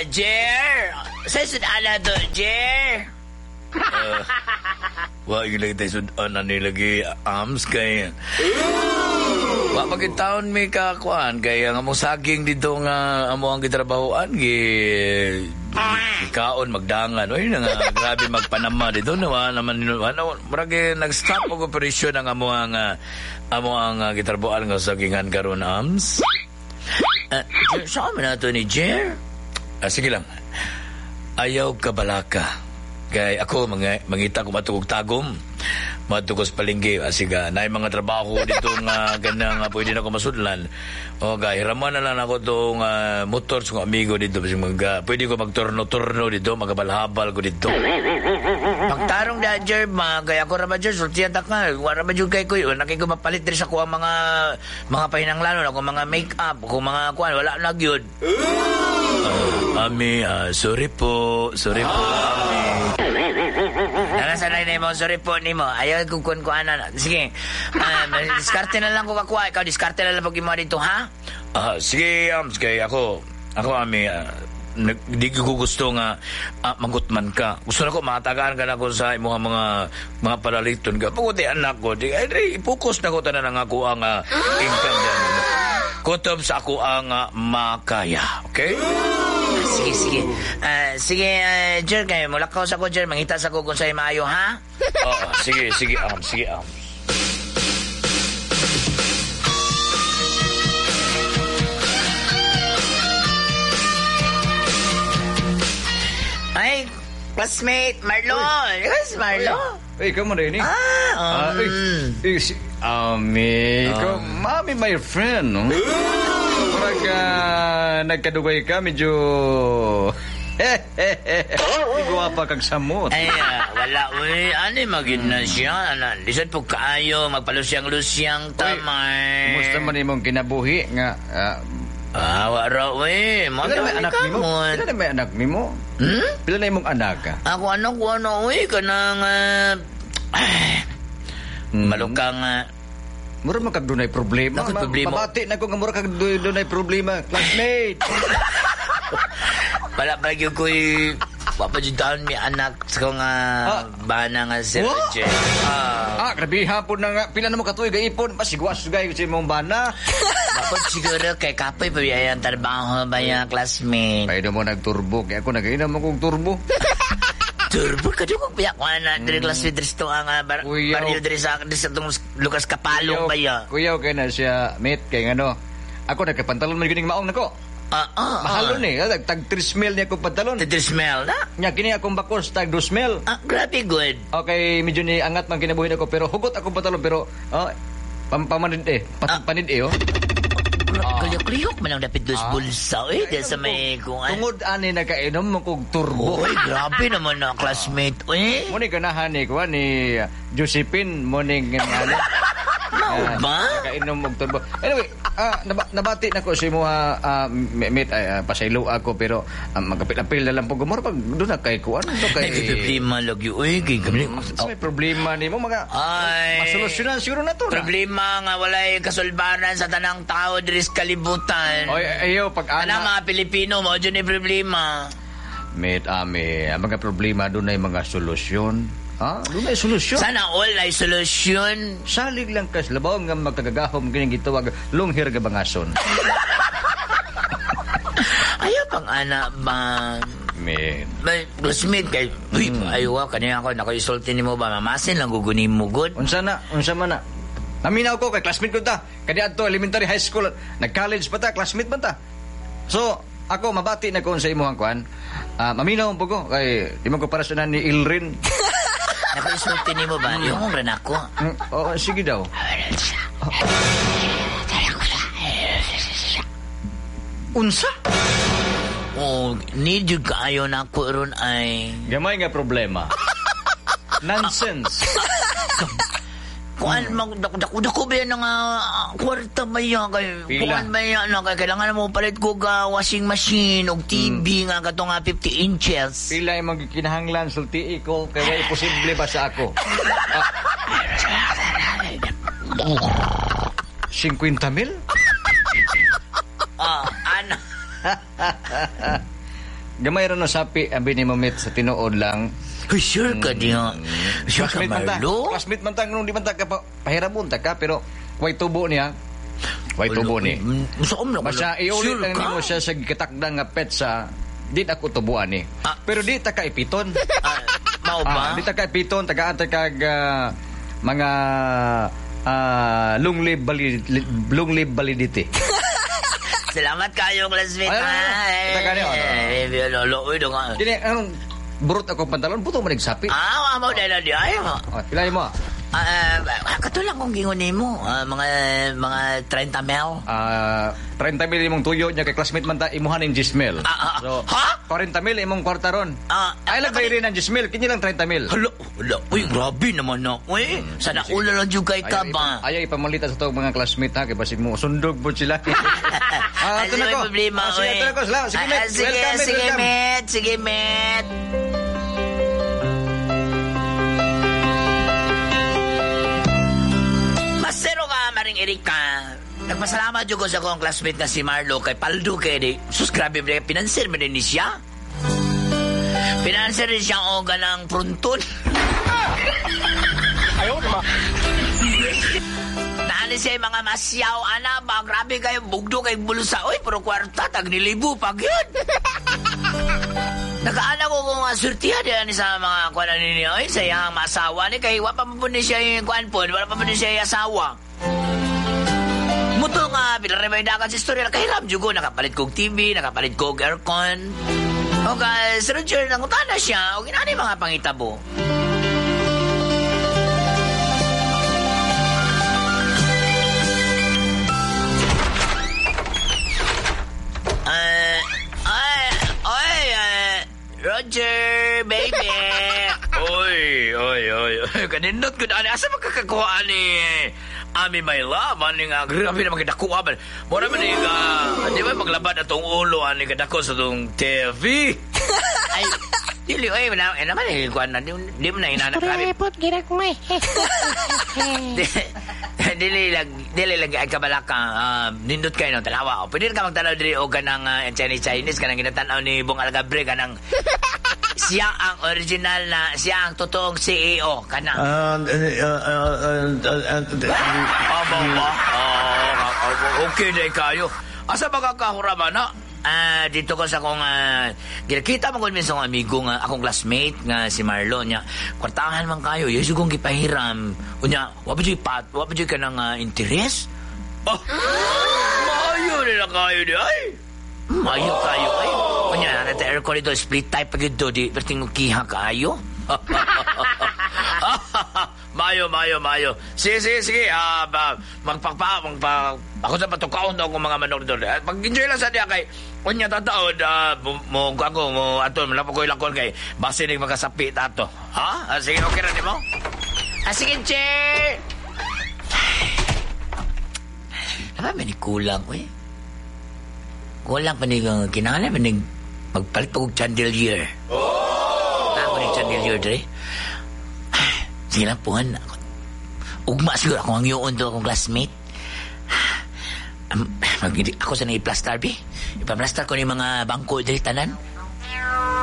Jer! Sa sudan to, Jer? Wa gyud lagi tayo sudan na nilagi ams kay wa magitaon mi ka kuan kay ang among saging dito nga amo ang gitrabahoan gi kaon magdangan oy na nga grabe magpanama dito na wa naman ano murag nag-stop og operasyon ang amo ang gitrabahoan nga sagingan karon ams. Saan man nato ni Jer? Sige lang. Ayaw ka balaka. Kay ako mangita ko matugog tagom. Matugos palengke asiga naay mga trabaho dito nga ganang pwede na ko masudlan. O ga hiraman na lang ako tong motor sa kong amigo dito bisag pwede ko magturno-turno dito, magabalhabal ko dito. Pagtarong da Jer, kay ako ra ba Jer, sultihan ta ka. Wa ra ba jud kay ko, wala kay ko mapalit diri sa kuang mga pahinanglanon, ako mga make-up, ako mga kuan, wala na gyud. Ami, sorry po, ami. Narasanay na mo, sorry po nimo. Ayaw kung kuan kuan na. Sige. Diskarte na lang ko kakuha. Ikaw diskarte na lang pag imo dito, ha? Sige, sige, ako ami, di ko gusto nga magutman ka. Gusto na ko matagaan ka na ko sa imong mga palaliton ka. Pagod anak ko, di ay i-focus na ko tanan ang ako ang income diyan. Kutob sa ako ang makaya, okay? Sige. Sige, Jer, kayo mulakaw sa ko, Jer. Mangita sa ko kung sa'yo maayo, ha? Oo, sige, sige. Ay, classmate, Marlon. Yes, Marlon. Ay, ikaw mo rin, eh. Ikaw, mami, my friend, no? Parang nagkadugay ka, medyo... Iguapa kag samot. Ay, wala, uy. Ano magid na siya? Lisod po kaayo, magpalusyang-lusyang tamay. Kumusta man imong kinabuhi nga... wala, uy. Pila na may anak nimo? Pila na may anak nimo? Hmm? Pila na imong anak? Ako, anak ko, ano, uy. Kanang... Malukang... Mura man kag dunay problema. Problema. Mabati na ko nga mura kag dunay problema. Classmate. Wala pa gyud ko'y wapa jud mi anak sa kong bana nga si Roger. Grabe hapon na nga. Pila na mo katuig ipon. Masigwas gay sa imong bana. Dapat siguro kay kapoy pa ang trabaho ba ya classmate. Paido mo nagturbo. Kaya ako nagainom akong turbo. Turbo ka dugog biya ko na diri classmate diri sa ang baryo diri sa atong Lucas Kapalong ba ya. Kuyaw kay na siya mate kay ngano. Ako nagkapantalon man gining maong nako. Mahalon eh. Tag 3 mil niya akong pantalon. Tag 3 mil na? Nya kini akong bakos tag 2 mil. Grabe good. Okay, medyo ni angat man kinabuhi nako pero hugot akong pantalon pero pamanid eh. Panid eh oh. Kaliyok-liyok man ang dapit dos bulsa eh. Dahil sa may kung ano. Tungod ani nakainom mo kog turbo. Uy, grabe naman na classmate eh. Muna ganahan ni kuha ni Josephine morning ano. Mao ba? Nakainom og turbo. Anyway, nabati na ko sa imo mate pasaylo ako pero magapil-apil na lang po gumor pag doon na kay kuan do kay problema lagi uy kay kami. May problema nimo mga masolusyonan siguro na to. Problema nga walay kasulbaran sa tanang tao diri sa kalibutan. Oy ayo pag ana mga Pilipino mo jud ni problema. Mate ami, ang mga problema doon ay mga solusyon. Ha? Doon ay solusyon. Sana all ay solusyon. Salig lang kas labaw nga magkagagahom kining gitawag lunghir ga bangason. Ayaw pang ana ba? Mate. May classmate kay uy, ayaw kaniya ako naka-isulti nimo ba mamasin lang gugunin mo good. Unsa na? Unsa man na? Naminaw ko kay classmate ko ta. Kani adto elementary, high school, nag-college pa ta, classmate man ta. So, ako mabati na ko sa imong kuan. Maminaw po ko kay di man ko para sa ni Ilrin. Naka-isulti nimo ba? Yung rin ako. Oo, sige daw. Unsa? Oh, need you kaayo na ako ron ay... Gamay nga problema. Nonsense. Kuan dako ba yan nga kwarta ba yan kay kuan ba yan na kay kailangan mo palit ko ga washing machine og TV nga kato nga 50 inches. Pila imong gikinahanglan sultii ko kay way posible ba sa ako. 50 mil? Ano? Gamay ra no sapi ang binimamit sa tinuod lang. Uy, sure ka diya. Sure ka, Classmate man ta. Marlo? Classmate man ta nung di man ta ka pahiramon ta ka pero way tubo niya. Way tubo ni. Musaom na ko. Basta iulit Sure lang ka? nimo siya sa gitakdang nga petsa, di ako tubuan ni. Ah. Pero di ta ka ipiton. Ah, mao ba? Di ta ka ipiton, tagaan ta kag mga long live validity. Salamat kayo, classmate. Ay, ay, ay. Kita ka niyo, ano? Eh, lolo, uy, dunga. Dili anong burot ako pantalon, buto man nagsapi. Ah, mao dahil di ay. Oh, pila mo? Kato lang kung gingon nimo, mga 30 mil. 30 mil imong tuyo niya kay classmate man ta imuhan ning 10 mil. So, Ha? 40 mil imong kwarta ron. Ay lang bayrin ang 10 mil, kini lang 30 mil. Hala, hala, uy, grabe naman na. Uy, sana ulo lang juga kay ka ba? Ayaw ipamalitan sa tong mga classmate ha, kay basig mo sundog po sila. Ato na Sige, ko. problema, Sige, uy. ato na ko. Salamat. Sige, mate. Sige, Welcome, mate. sige, Welcome. mate. Sige, mate. Masero ka, Maring Erika. Nagpasalamat jud ko sa akong classmate na si Marlo kay Paldo kay di. Sus, grabe ba, pinanser man din ni siya. Pinanser din siya og ganang prunton. Ayaw naman. Naani siya yung mga masyaw, ana ba? Grabe kayo, bugdo kay bulsa. Uy, pero kwarta, tag nilibo pag yun. Nakaana ko kung surtihan diyan sa mga kuwan ninyo. Uy, sa iyang masawa ni kay wa pa man po ni siya yung kuwan po, wala pa po ni siya yung asawa. Muto nga, pinaremay dagan sa istorya, nakahiram jud ko, nakapalit kog TV, nakapalit kog aircon. O ka, Sir Roger, nangutana siya, o ginani mga pangitabo. Ay, Roger, baby. Oy, oy, oy, oy. Kanindot ko na. Asa makakakuha ni Ami my love? Ani nga, grabe naman kadakuha man. Mura man ni di ba maglabad atong ulo ani kadako sa tong TV? Ay, dili, oy, wala, eh, naman eh, kuwan na, di mo na inana. Grabe. Repot, ginagmay. Dili lang ay kabalaka, nindot kayo ng tanawa. O, pwede ka magtanaw diri o kanang Chinese Chinese kanang ginatanaw ni Bong Algabre kanang siya ang original na siya ang totoong CEO kanang. Aba ba? Okay na kayo. Asa ba kakahuraman na? Dito ko sa akong ginakita mo ko minsan akong amigo nga akong classmate nga si Marlon niya. Kwartahan man kayo, yeso kong gipahiram. Unya, wa pa juy pat, wa pa juy kanang interes. Oh, maayo nila kayo di ay. Maayo kayo ay. Unya, nata aircon dito split type pag yun di perting kiha kayo. Mayo. Sige. Magpakpa ako sa patukaon daw akong mga manok doon. Pag-enjoy lang sa diya kay unya tataon, mo ako mo ato malapok ko ilakon kay base ning makasapi tato. Ha? Sige, okay ra nimo? Sige, che. Aba man kulang oy. Kulang pa ni kinahanglan man ning magpalit pa og chandelier. Oh! Ako ni chandelier dre. Sige lang, puhan. Ugma siguro akong ang yun to akong classmate. Ako sa nai-plastar, bi. Ipaplastar ko ni mga bangko diri tanan.